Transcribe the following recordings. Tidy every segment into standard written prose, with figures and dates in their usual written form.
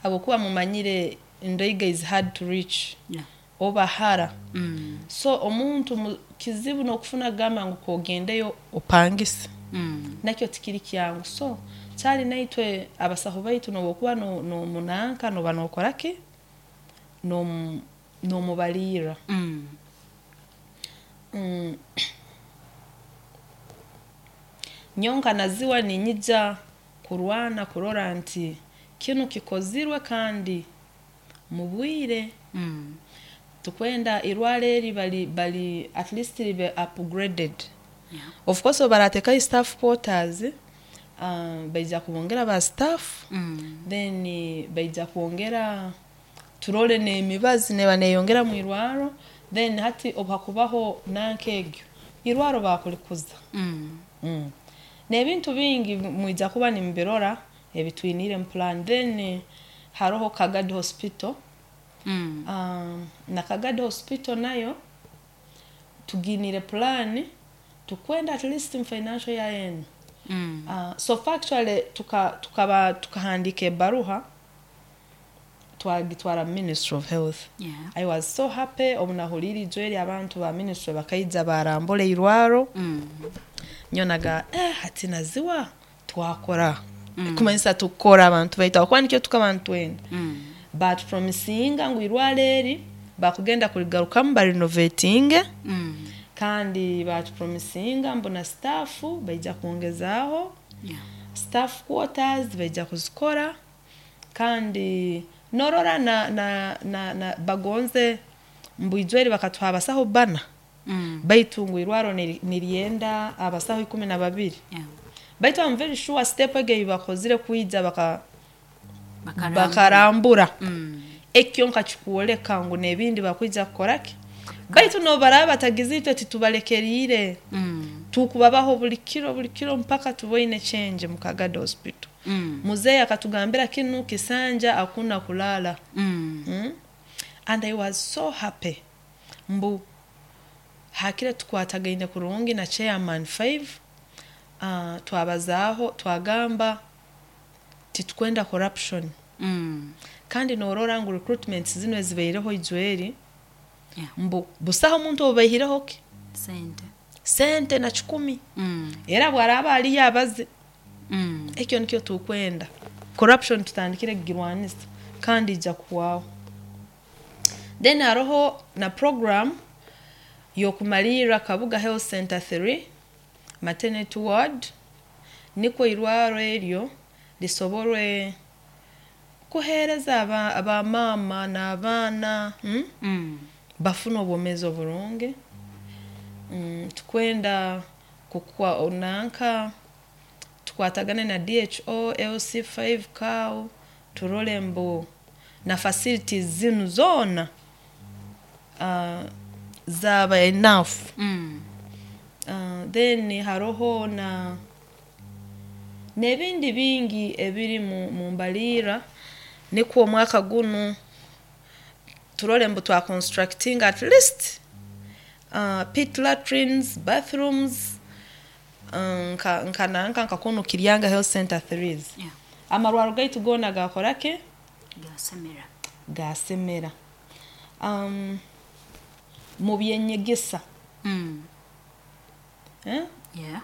Habwokuba mumanyire Ndaiga is hard to reach, oba hara. So omuntu kizibu n'okufuna kugamba ngu kogendeyo opangise, nakyo tikiri kyangu. So kyali naitwe abasaho baitu n'obu okuba nomunanka noba nokora ki, n'omubaliirra. Nyowe nka Naziwa niinyija kurwana kurora nti kinu kikozirwe kandi mu bwire. Tukwenda irwaro eri bari bari at least ribe upgraded. Of course obu barateekayo staff quarters, baija kubongera ba staff, then baija kwongera turole n'emibazi neeba neeyongera mwirwarro, then hati obu hakubaho nanka egyo, irwarro baakulikuza. N'ebintu bingi mwija kuba nimubirora ebi twiniire mu plan. Then haroho Kagadi Hospital. Na Kagadi Hospital nayo tugiiniire plan, tukwenda at least mu financial year enu. So far actually tukaba tukahandiika ebaruha twagitwara mu Ministry of Health. I was so happy obu nahuliire ijweri abantu ba ministry bakaija baarambura irwarro, nyowe nagamba hati Naziwa twakora, kumanyisa tukora abantu baitu habwokuba nikyo tukaba nitwenda. Baatupromisinga ngu irwarro eri bakugenda kurigarukamu barinovetinge, kandi baatupromisinga mbu na staff baija kwongezaaho, staff quarters baija kuzikora, kandi norora na, na, na, na bagonze mbu ijweri bakatuha abasaho bbana, baitu ngu irwarro niryenda abasaho 12. Baitu I'm very sure step egi ei bakozire kwija bakarambura, eki kyonka kikwoleka ngu n'ebindi bakwija kukora ki? Baitu n'obu baraaba batagize itwe titubalekeriire, tukubabaho buli kiro buli kiro mpaka tuboine change mu Kagadi Hospital. Muzeeyi akatugambira kinu, kisanja hakuna kulala. And I was so happy mbu hakire tukwatagaine kurungi na chairman 5, twabazaaho twagamba titukwenda corruption. Kandi noorora ngu recruitments zinu ezibaireho ijweri, mbu busaho omuntu ou baihireho ki? Sente. Sente na kikumi. Era bwaraaba aliyo abaze. Ekyo nikyo tukwenda. Corruption tutandikire kugirwanisa kandi ija kuhwaho. Then haroho na program y'okumalirra Kabuga Health Center 3 maternity ward, nikwo irwarro eryo lisoborwe kuheereza abamaama n'abaana, bafune obwomeezi oburungi. Tukwenda kukwa nanka tukwatagane na DHO, LC5 COW, turole mbu na facilities zinu zoona zaaba enough. Then haroho na n'ebindi bingi ebiri mu mbaliira, nikwo omwaka gunu turole mbu twa constructinga at least pit latrines, bathrooms, nka nka nanka nka kunu Kiryanga Health Center 3s. Amarwarro gaitu goona gaakora ki? Gasemera. Gaasemera. Mu by'enyegesa, eh? Yeah.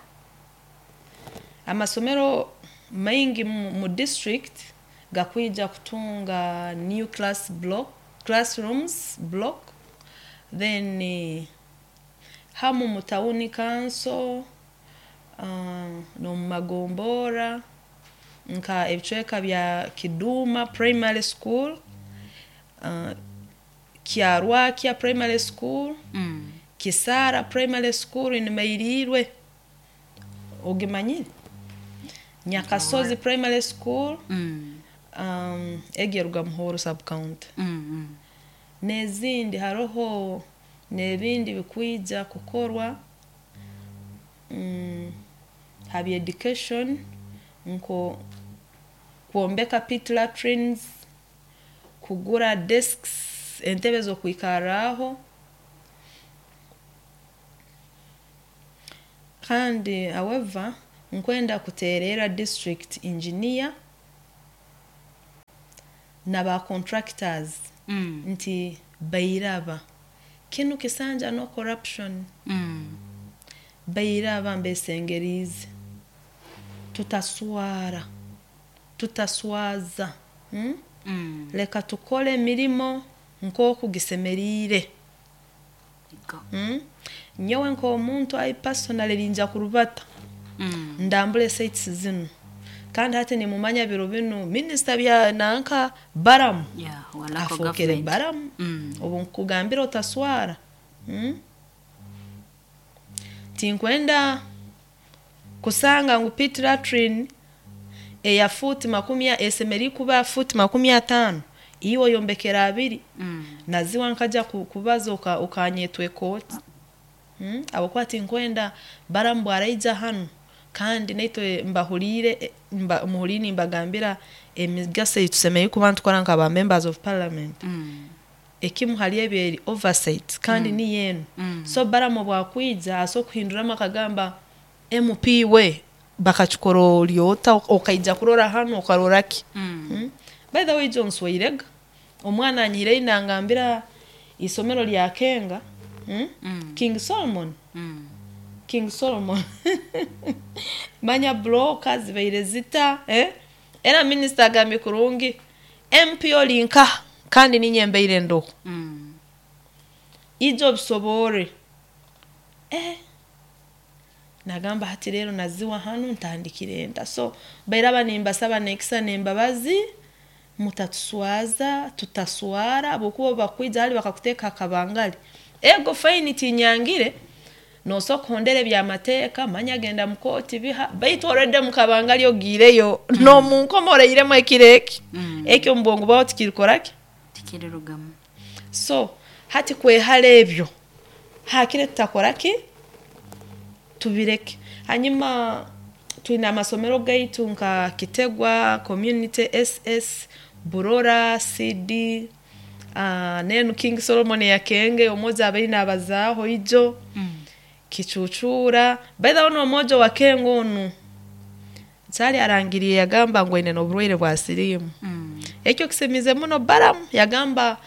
Amasomero maingi mu district gakwija kutunga new class block, classrooms block, then hamu mu town council, n'omu magombora nka ebicweka bya Kiduma Primary School, Kyarwakya Primary School, Kisara Primary School in Mairirwe, ogimanyire? Nyakasozi Primary School, egi eruga Muhoro sub county. N'ezindi haroho n'ebindi bikwija kukorwa ha bya education nko kwombeka pit latrines, kugura desks, entebe z'okwikarraho. Kandi however nkwenda kuteererra district engineer. Na ba contractors nti bairaba kinu kisanja no corruption. Bairaba mbesengerize tutaswara, tutaswaza, Leka tukole emirimo nk'oku gisemeriire. Ego. Nyowe nk'omuntu I personally ninja kurubata ndambule sites zinu, kandi hati nimumanya biro binu minisita bya nanka Baramu Yeah, wa local afookere government. Baramu. Obu nkugambira otaswara, Tinkwenda kusanga ngu pit latrine eya futi makumi esemeriire kuba futi 50, iwe oyombekera 2. Naziwa nkaja kubaza okanyetwa ekooti. Habwokuba tinkwenda Baramu bwaraija hanu kandi naitwe mbahuriire, muhuriire nimbagambira emigaso ei tusemeriire kuba nitukora nka ba members of parliament. Ekimu hali ebyo eri oversight kandi niyo enu. So Baramu obwakwija asobola kuhinduramu akagamba MP we bakakikora ori ota okaija kurora hanu okarora ki? By the way, John nswairega omwana anyihireyo nangambira isomero lya Kenga, King Solomon. King Solomon. Manya bloka zibaire zita, eh? Era minisita agambye kurungi MP oli nkaha kandi ninye mbaire ndoho. Ijo obisobore. Nagamba hati rero naziwa hanu ntandikire nta. So bairaba nimbasaba nekisa nembabazi mutatuswaza, tutaswara habwokuba bakwija hali bakakuteeka akabangali. Ego faini tinyangire nosobola kuhondera ebyamateeka, manya genda mu kooti biha, baitu already mu kabangali ogiireyo n'omunkomo orairemu ekiro eki. Ekyo omu bwongo bwawe tikirikora ki? Tikirirugamu. So hati kwehara ebyo hakire tutakora ki? Tubireke. Hanyuma twine amasomero gaitu nka Kitegwa Community SS, Burora CD, nenu King Solomon ya Kenge omoja abaire nabazaaho ijo. Kicucura. By the way, n'omwojo wa Kenge onu Kyali arangiriye yagamba ngu aine n'oburwaire bwa siriimu. Ekyo kisemize muno Baramu yagamba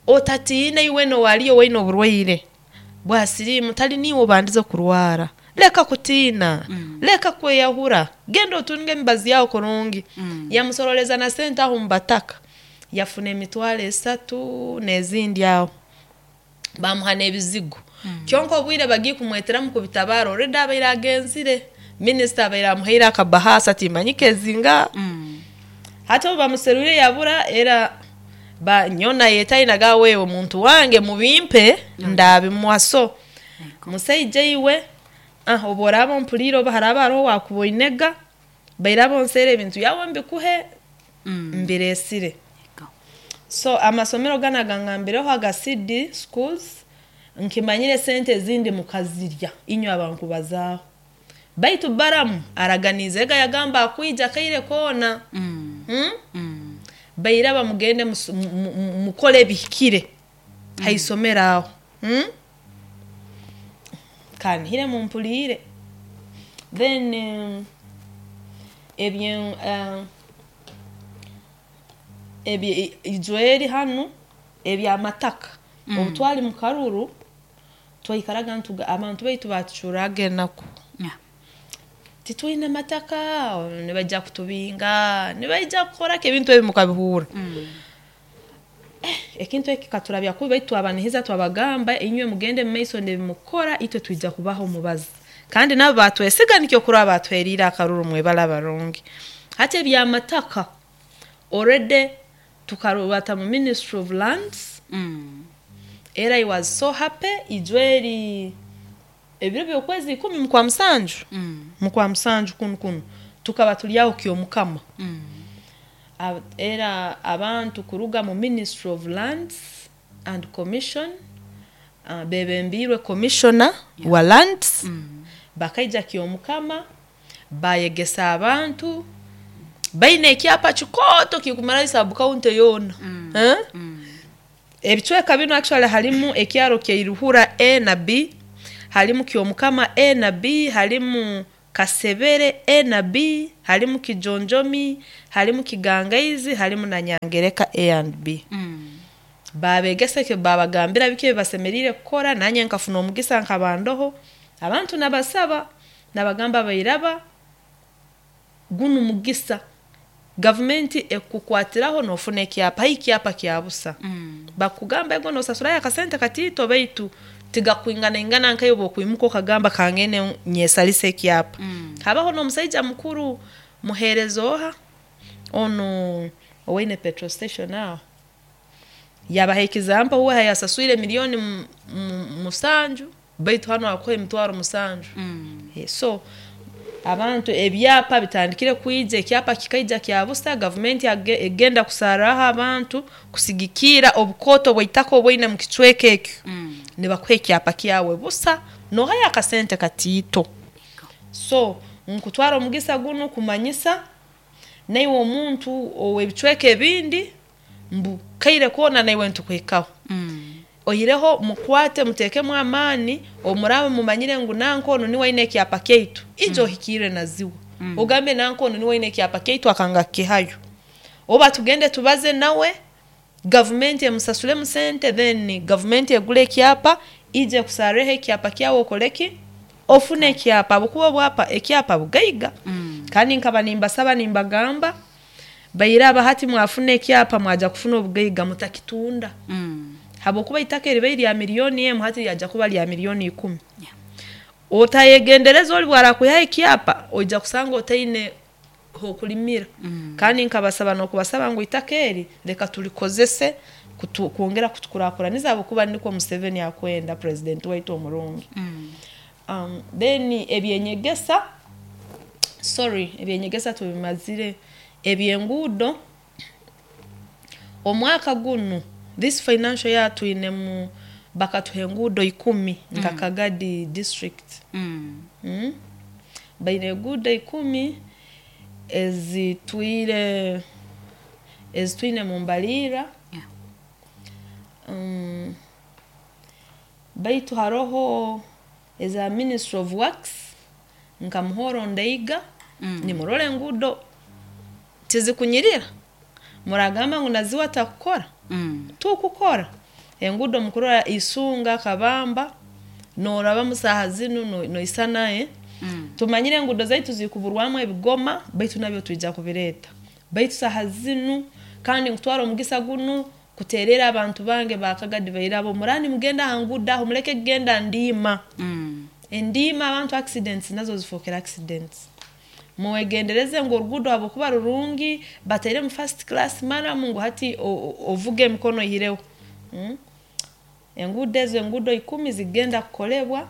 otatiina iwe nowaliyo waine oburwaire bwa siriimu, tali niiwe obandize kurwara. Leka kutiina, leka kweyahura, genda otunge emibazi yawe kurungi. Yamusoroleza na sente aho mubataka, yafuna 300,000 n'ezindi aho. Bamuha n'ebizigo. Kyonka obwire bagiye kumweteramu kubitabara already abaire agenzire. Minisita abaire amuhaire akabahasa timanyika ezinga. Hati obu bamuserwire yabura era ba nyona yetayi naga wewe muntu wange mubimpe ndabimuha. So musaija iwe obu oraaba ompuriire oba haraba haroho wakuboinega bairaba onseere ebintu byawe mbikuhe mbiresire. So amasomero gana gangambireho aga CD schools nkimanyire sente ezindi mukazirya inywe abankubazaaho. Baitu Baramu araganize ega yagamba akwija kaire koona. Bairaba mugende mukole ebihikire haisomero aho. Kanihire mumpuriire. Then ebye ijweri hanu ebyamataka. Obu twali mu karuru twaikaraga ntuga abantu baitu batucuraga enaku. Titwine mataka, nibaija kutubinga, nibaija kukora ki ebintu ebi mukabihuura. Ekintu eki katurabya kubi baitu twabanihiza twabagamba inywe mugende mu maiso n'ebimukora itwe twija kubaha omubazi. Kandi nabo batwesiga nikyo kuraba batuheriire akaruru mwebale abarungi. Hati ebyamataka already tukarubata mu Ministry of Lands. Era I was so happy ijweri ebiro by'okwezi 10 mukwa musanju. Mukwa musanju kunu kunu tukaba tuli aho kyomukama. Era abantu kuruga mu Ministry of Lands and Commission, bebembiirwe commissioner wa lands, bakaija kyomukama bayegesa abantu baine ekyapa kikooto kikumarayo sub county yoona. Ebicweka binu actually harimu ekyaro kya Iruhura A na B, harimu kyomukama A na B, harimu Kasebere A na B, harimu Kijonjomi, harimu Kigangaizi, harimu na Nyangereka A and B. Babegesa babagambira biki ebibasemeriire kukora. Nanye nkafuna omugisa nkabandoho abantu nabasaba nabagamba bairaba gunu mugisa gavumenti ekukwatiraho nofuna ekyapa, hai ekyapa kya busa. Bakugamba ego nosasurayo akasente katiito baitu tigakwinganaingana nkayo bwokwimuka okagamba kangende nyesalise ekyapa. Habaho n'omusaija mukuru muheereza oha onu owaine petrol station aho yabaha example uwe yasaswire 7 millioni baitu hanu akuha 700,000. So abantu ebyapa bitandikire kwija, ekyapa kikaija kya busa, gavumenti egenda kusarraho abantu kusigikiira obukooto bw'itaka obu oine mu kicweka ekyo, nibakuha ekyapa kyawe busa nohayo akasente katiito. So nkutwara omugisa gunu kumanyisa naiwe omuntu ow'ebicweka ebindi mbu kaire koona naiwe nitukuhikaho. Oihireho mukwate muteekemu amaani, obu muraaba mumanyire ngu nanka onu nuwe aine ekyapa kyaitu, ija ohikirre naziwa ogambe nanka onu nuwe aine ekyapa kyaitu akanga kukihayo, oba tugende tubaze nawe gavumenti emusasuremu sente, then gavumenti egule ekyapa ije ekusarreho ekyapa kyawe okole ki, ofune ekyapa habwokuba ekyapa bugaiga. Kandi nkaba nimbasaba nimbagamba bairaba hati mwafuna ekyapa mwaija kufuna obugaiga mutakitunda, habwokuba itaka eribaire rya 1 millioni hati lyaija kuba lya 10 millioni. Otayegendereza oli obu arakwihaho ekyapa oija kusanga otaine h'okulimira. Kandi nkabasaba n'okubasaba ngu itaka eri leka tulikozese kwongera kutukurakuraniza habwokuba nikwo Museveni akwenda, president waitu omurungi. Then ebyenyegesa, sorry, ebyenyegesa tubimazire, eby'enguudo omwaka gunu, this financial year, twinemu bakatuha enguudo 10 nka Kagadi district. Baine enguudo 10 ezitwire ezitwine mu mbaliira. Baitu haroho eza Ministry of Works nka Muhoro Ndaiga, nimurora enguudo tizikunyirira, muragamba ngu naziwa takukora, tukukora enguudo. Mukurora Isunga Kabamba norabamu saaha zinu noisana, eh? Tumanyire enguudo zaitu zikuburwamu ebigoma, baitu nabyo twija kubireeta, baitu saaha zinu kandi nkutwara omugisa gunu kuterera abantu bange ba Kagadi bairabo, muraba nimugenda ha nguudo aho muleke kugenda ndiima. Endiima abantu accidents nazo zifookere accidents. Mwegendereze ngu oruguudo habwokuba rurungi batairemu first class murram ngu hati ovuge emikono oihireho. Enguudo ezo, enguudo 10 zigenda kukolebwa.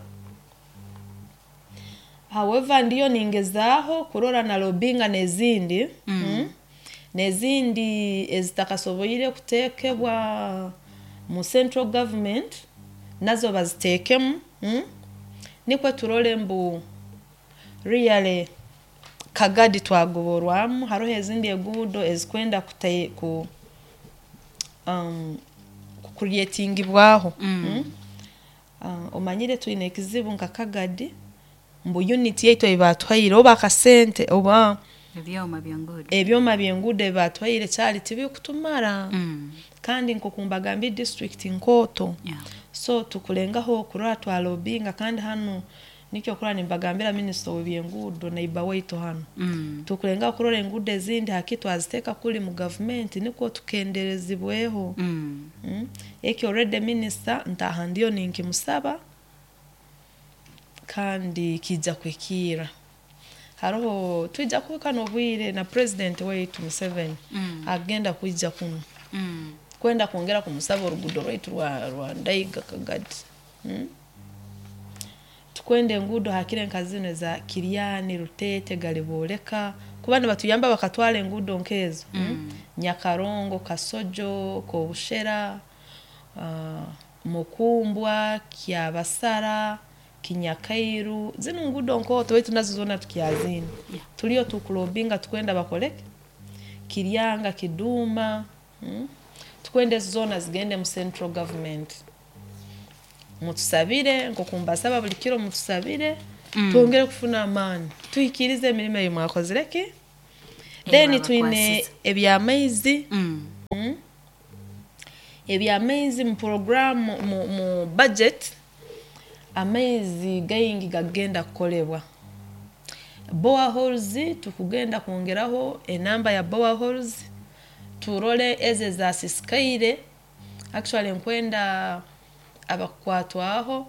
However, ndiyo ningezaaho kurora na lobbyinga n'ezindi, N'ezindi ezitakasoboire kuteekebwa mu central government nazo baziteekemu, Nikwo turole mbu really Kagadi twagoborwamu. Haroho ezindi enguudo ezikwenda ku kucreatingibwaho. Omanyire twine ekizibu nka Kagadi mbu unit yaitu ei baatuhaire oba akasente oba ebyoma by'enguudo, ebyoma by'enguudo ebi baatuhaire kyali tibikutumara. Kandi nk'oku mbagambire district nkooto. So tukulengaho kurora twalobbyinga, kandi hanu nikyo kurora nimbagambira minisita ow'ebyenguudo neighbor waitu hanu. Tukulengaho kurora enguudo ezindi haki twaziteeka kuli mu gavumenti nikwo tukenderezibweho. Eki already minisita ntaaha ndiyo ninkimusaba kandi kiija kuhikiirra. Haroho twija kuhika n'obwire na president waitu Museveni agenda kwija kunu kwenda kwongera kumusaba oruguudo rwaitu rwa Ndaiga Kagadi. Tukwenda enguudo hakire nka zinu eza Kiryani, Ruteete, Galibooleka kuba nibatuyamba bakatwara enguudo nk'ezo. Nyakarongo, Kasojo, Kobushera, Mukumbwa, Kyabasara, Kinyakairu, zinu nguudo nkooto baitu nazo zoona tukyaziine. Tuliyo tukulobbyinga tukwenda bakoleki Kiryanga, Kiduma, Tukwenda ezo zoona zigende mu central government. Mutusabire nk'oku mbasaba buli kiro, mutusabire. Twongere kufuna amaani, tuhikirize emirimo ei mwakozire ki. Then twine babakwasize. Ebyamaizi. Ebyamaizi mu program, mu budget, amaizi gaingi gagenda kukolebwa. Boreholes, tukugenda kwongeraho enamba ya boreholes, turole ezo ezasisikaire. Actually nkwenda abakukwatwaho,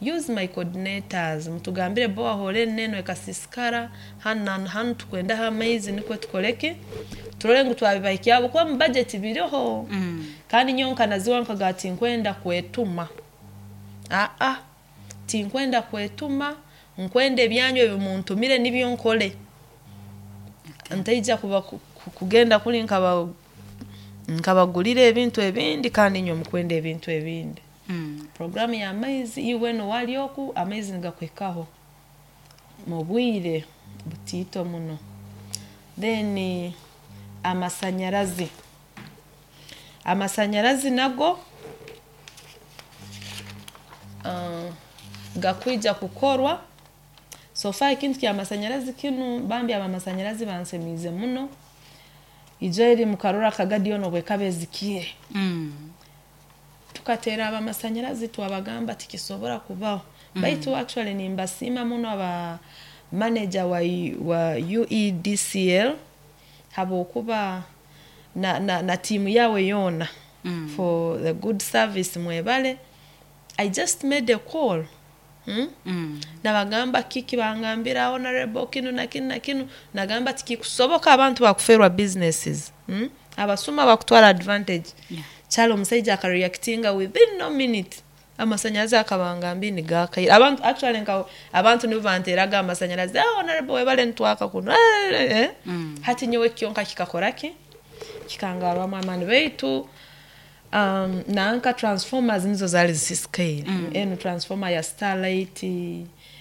use my coordinators, mutugambire borehole enu nenu ekasisikara hanu na hanu, tukwendaho amaizi, nikwo tukoleki, turole ngu twabibahikyaho, kuba mu budget biriho. Kandi nyowe nkanaziwa nkaga tinkwenda kwetuma, aa, tinkwenda kwetuma, nkwenda ebyanyu ebimuntumire nibyo nkole. Ntaija kuba kugenda kuli nkabagulira ebintu ebindi kandi inywe mukwenda ebintu ebindi. Programu y'amaizi, iwe nowali oku amaizi nigakuhikaho mu bwire butiito muno. Then amasanyarazi, amasanyarazi nago gakwija kukorwa. So far ekintu ky'amasanyarazi kinu, bambi abamasanyarazi bansemiize muno. Ijo eri mukarora Kagadi yoona obwekaba ezikiire, tukateera abamasanyarazi twabagamba tikisobora kubaho. Baitu actually nimbasiima muno aba manager wa UEDCL, habwokuba na tiimu yawe yoona, for the good service. Mwebale. I just made a call, Nabagamba kiki, bangambira honorable kinu na kinu na kinu, nagamba tikikusoboka, abantu bakuferwa businesses, Abasuma bakutwara advantage. Kyali omusaija akareactinga within no minute, amasanyarazi akabangambire nigakaire abantu. Actually nka abantu nibo banteraga amasanyarazi, "Ah, honorable webale, nitwaka kuno." Eh, eh. Hati nyowe kyonka kikakora ki, kikangarwamu amaani. Baitu nanka transformers nizo zali zisisikaire. Enu transformer ya Starlight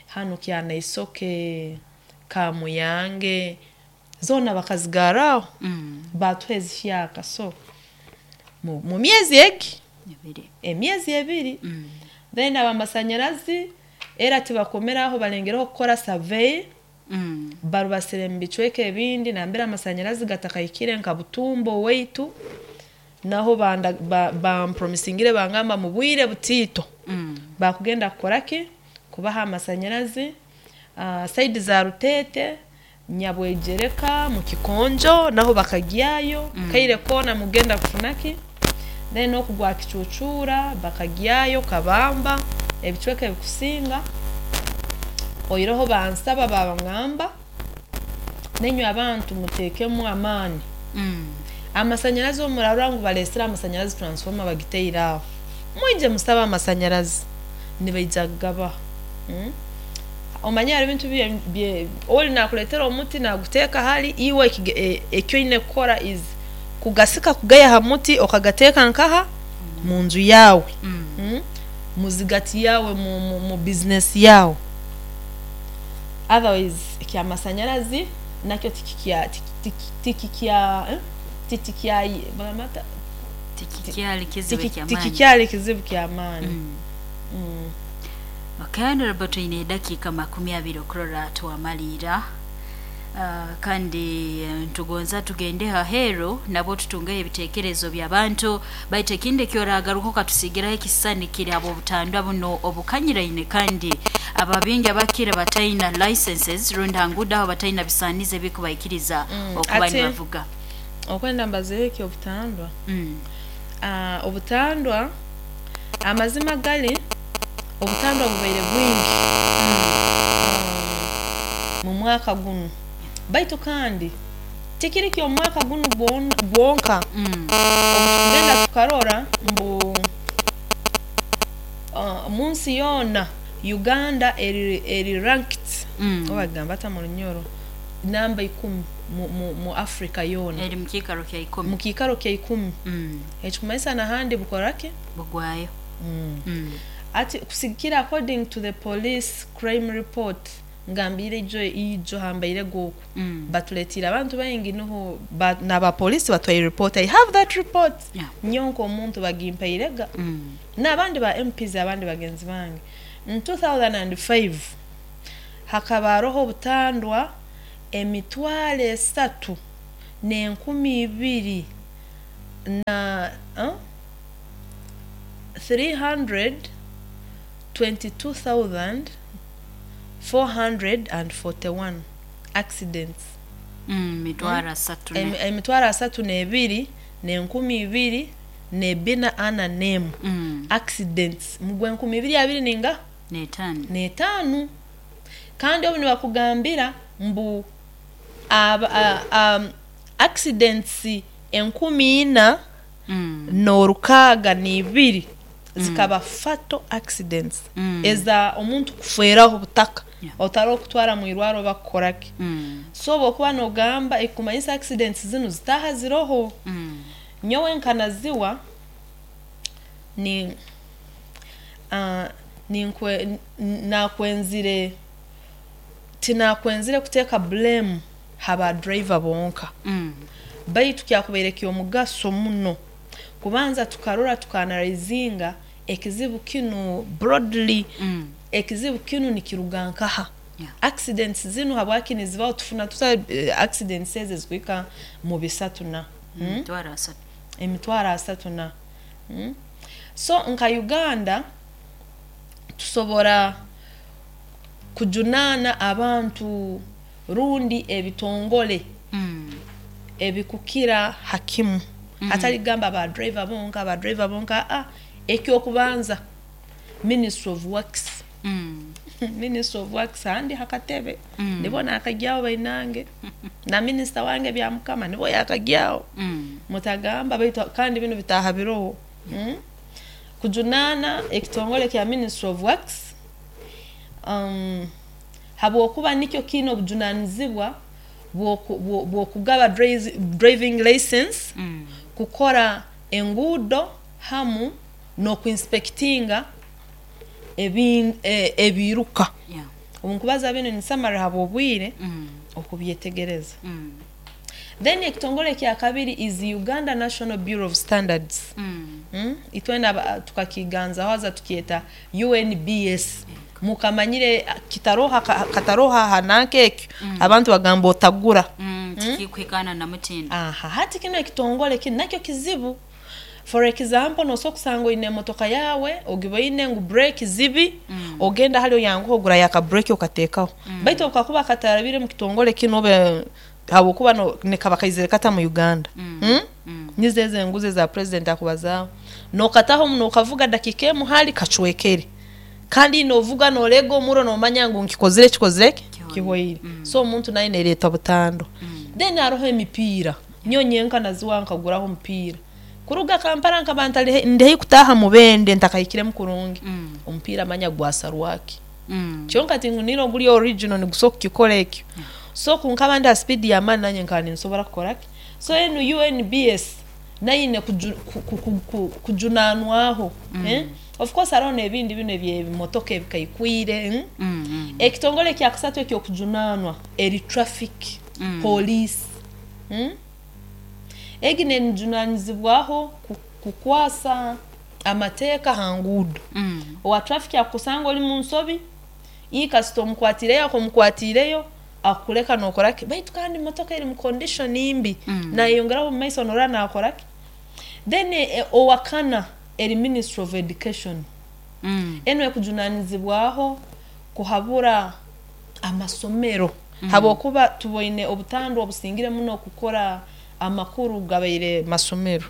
hanu Kyanaisoke, Kamuyange, zona bakazigaraho, batuha ezihyaka. So mu myezi egi 2. Emyezi 2. Then abamasanyarazi era tibakomeraho, balengereho kukora survey, barubasire mu bicweka ebindi nambere amasanyarazi gatakahikire, nka Butumbo waitu, naho bampromisingire, bangamba mu bwire butiito bakugenda kukora ki, kubaha amasanyarazi. Side za Rutete, Nyabwegereka, mu Kikonjo naho bakagyayo. Kaire koona mugenda kufuna ki. Then okugwa Kicucura bakagyayo, Kabamba, ebicweka ebikusinga oiroho bansaba, babangamba nenywe abantu mutekemu amaani. Amasanyarazi omurarora ngu balesere amasanyarazi, transformer bagiteire aho, mwije musabe amasanyarazi, nibaija kugabaha, Omanye hari ebintu oli nakuletera omuti naguteeka hali iwe, ekyoine kukora is kugasika kugaiha ha muti okagateeka nkaha munju yawe, Muzigati yawe, mu business yawe. Otherwise ekyamasanyarazi nakyo tikikya tikikya tikikya bagamba Tikikyali kizibu kyamaani. Tikikyali kizibu kyamaani. Okay, honorable, twine edakiika 20 okurora twamaliira. Kandi ntugonza tugende haheru nabo tutungeho ebitekerezo by'abantu. Baitu ekindi ekyoragaruka okatusigiraho ekisisani kiri abo obutandwa buno obukanyiraine, kandi ababingi abakira bataina licenses rundi hangudo aho bataina bisaanizo ebikubaikiriza okuba nibavuga. Okwenda mbazeho ekyobutandwa. Obutandwa, amazima gali, obutandwa bubaire bwingi mu mwaka gunu, baitu kandi tikiri ky'omwaka gunu gwonka. Obutukugenda tukarora mbu munsi yoona Uganda eri ranked, oba bagamba ata mu Runyoro, namba 10 mu Africa yoona. Eri mu kiikaro kya 10. Mu kiikaro kya 10. Ekikumanyisa nahandi bukora ki, Bugwayo. Ati kusigikira according to the police crime report, ngambire ijo hambaire goku, batuletire abantu baingi niho n'abapolisi batwaire report. I have that report. Nyonka omuntu bagimpairega, n'abandi ba MPs, abandi bagenzi bange. In 2005 Hakaba haroho obutandwa 302,000 na 322,441 accidents. 32,000. 32,241 accidents mugwe 2025. 5. Kandi obu nibakugambira mbu accidents 4,062 zikaba fatal accidents, eza omuntu kufweraho butaka, otari okutwara mu irwaro bakukoraki. So bwokuba nogamba ekumanyisa accidents zinu zitaha ziroho. Nyowe nkanaziwa ni nakwenzire tinakwenzire kuteeka blame haba driver bonka, baitu kyakubaire ky'omugaso muno kubanza tukarora tukaanalizinga ekizibu kinu broadly. Ekizibu kinu nikiruga nkaha? Accidents zinu habwaki nizibaho? Tufuna tuta accidents ezi ezikuhika mu bisatu na 30,000. 30,000 na So nka Uganda tusobora kujunaana abantu rundi ebitongole ebikukira hakimu, hatali kugamba ba driver bonka, ba driver bonka. Ekyokubanza Ministry of Works. Ministry of Works handi hakatebe nibo nakagyaho bainange na minisita wange Byamukama nibo yakagyaho. Mutagamba baitu kandi binu bitaha biroho. Kujunaana ekitongole kya Ministry of Works, habwokuba nikyo kiine obujunanizibwa bwokugaba driving license, kukora enguudo hamu n'okuinspectinga ebiruka. Obunkubaza binu nisamara habwobwire okubyetegereza. Then ekitongole kya kabiri is Uganda National Bureau of Standards. Itwena tukakiganzaho haza tukyeta UNBS. Mukamanyire kitaroha kataroha hananka ekyo, abantu bagamba otagura. Tikikwikana na mutindo. Aha, hati kino ekitongole kino nakyo kizibu. For example, nosobola kusanga oine emotoka yawe ogiboine ngu brake zibi, ogenda hali oyanguha ogura yaka brake okateekaho, baitu okakuba katarabire mu kitongole kino obe habwokuba nekaba kaizire kata mu Uganda. Nizo ezo enguzi eza president akubazaaho, nokataho nokavuga dakika emu hali kacwekere, kandi novuga norega omuro nomanya ngu nkikozire kikozire ki kihoire. So omuntu naye nereeta butando. Then haroho emipiira. Nyowe nyenka naziwa nkaguraho omupiira kuruga Kampala, nkaba ndi kutaaha Mubende ntakahikiremu kurungi, omupiira manya gwasarwaki. Kyonka tingunire oguli original nigusobola kukikora ekyo. So kunkaba ndi ha speed y'amaani nanye nkaba ninsobora kukoraki. So enu UNBS nayo ine kujunanwaho. Of course haroho n'ebindi bino ebyebimotoka ebikaikwire. Ekitongole kya kasatu ekyokujunanwa eri traffic police. Egi nenjunanizibwaho kukwasa amateeka ha nguudo. Owa traffic akusanga oli mu nsobi, kasita omukwatireyo akomukwatireyo akuleka nokoraki, baitu kandi motoka eri mu condition mbi, nayeyongeraho omu maiso norora nakoraki. Then owakana eri Ministry of Education. Enu ekujunanizibwaho kuhabura amasomero, habwokuba tuboine obutandwa obusingire muno kukora amakuru gabaire masomero.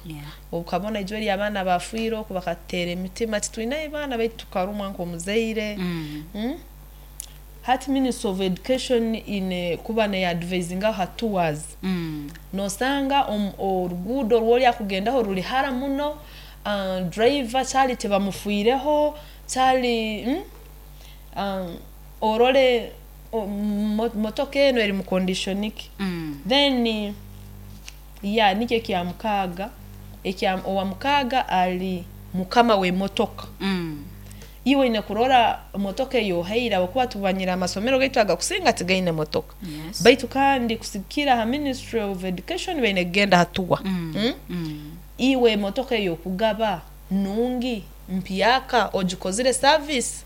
Okabona ijwe eri abaana bafiire oku bakatera emitima, titwinayo baana baitu tukarumwa nk'omuzaire. Hati Ministry of Education ine kuba neadvisinga ha tours. Nosanga oruguudo rwoli akugendaho ruli hara muno, driver kyali tibamufiireho kyali orole motoka eno eri mu condition ki. Then ya nikyo ekya mukaaga, ekya owa mukaaga ali mukama w'emotoka. Iwe oine kurora motoka eyohaire, habwokuba tumanyire amasomero gaitu agakusinga tigaine motoka. Baitu kandi kusigikira ha Ministry of Education baine kugenda hatuwa. Iwe motoka eyokugaba nungi mpyaka ogikozire service,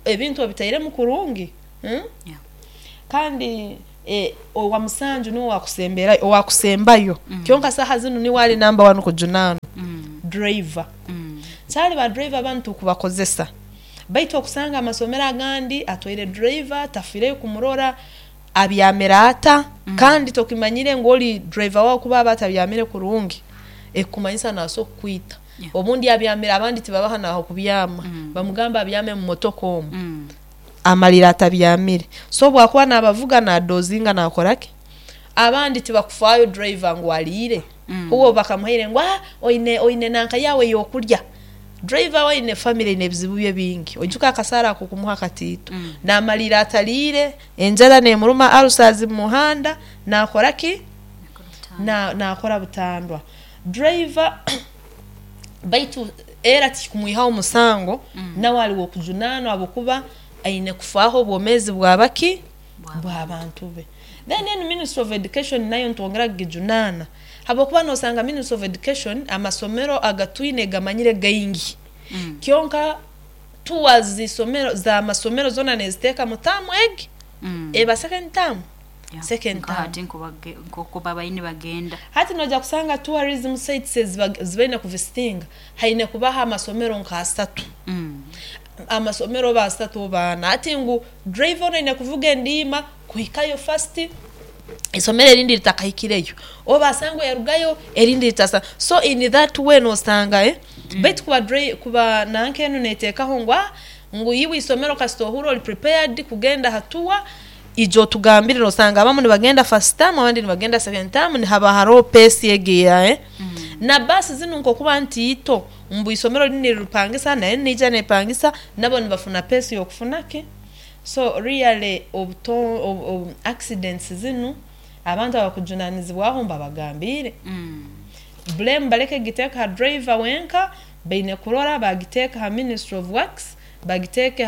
ebintu obitairemu kurungi. Hmm? Yeah. Kandi owa musanju niwe wakusemberayo, owakusembayo. Kyonka saaha zinu niwe ali number one kujunaanwa, driver. Kyali ba driver banu tukubakozesa, baitu okusanga amasomero agandi atwaire driver, tafiireyo kumurora abyamire ata. Kandi tokimanyire ngu oli driver waawe kuba aba atabyamire kurungi, ekikumanyisa naaso kukwita. Obundi abyamire, abandi tibabaha n'ahokubyama, bamugamba abyame mu motoka omu, amalira atabyamire. So obu akuba naabavuga naadoozinga naakora ki, abandi tibakufaayo driver ngu aliire. Uwe bakamuhaire ngu oine nanka yaawe ey'okulya. Driver we aine famire, aine ebizibu bye bingi, oijuke akasaara akokumuha katiito, naamalirra ataliire, enjara neemuruma, ulcers mu muhanda, naakora ki? Naakora butandwa. Driver baitu era tikikumwihaho musango, nawe ali w'okujunaanwa habwokuba aine kufaaho obwomeezi bw'abaki? Bw'abantu be. Then enu Ministry of Education nayo nitwongera kugijunaana habwokuba noosanga Ministry of Education amasomero agatwine gamanyire gaingi, kyonka tours z'isomero z'amasomero zoona neeziteeka mu term egi, eba second term, second Nka term. Hati nkoku babaire nibagenda. Hati noija kusanga tourism sites ezi baine kuvisitinga, haine kubaho amasomero nk'asatu, amasomero oba asatu oba ana. Hati ngu driver onu aine kuvuga endiima kuhikayo first isomero erindi litakahikireyo, oba asangwe yarugayo erindi litasa. So in that way noosanga baitu kuba kuba nanka enu neeteekaho ngu ngu iwe isomero kasita ohurra oli prepared kugenda ha tour, ija otugambire. Noosanga abamu nibagenda first term, abandi nibagenda second term, nihaba haroho pace egi eya na baasi zinu nkokuba ntiito, mbu isomero linu niriripangisa na enu niija neepangisa, nabo nibafuna pace y'okufuna ki. So really obuto obu accidents zinu, abantu abakujunaanizibwaho mbabagambiire. Blame baleke kugiteeka ha driver wenka, baine kurora baagiteeka ha Ministry of Works, bagiteeke.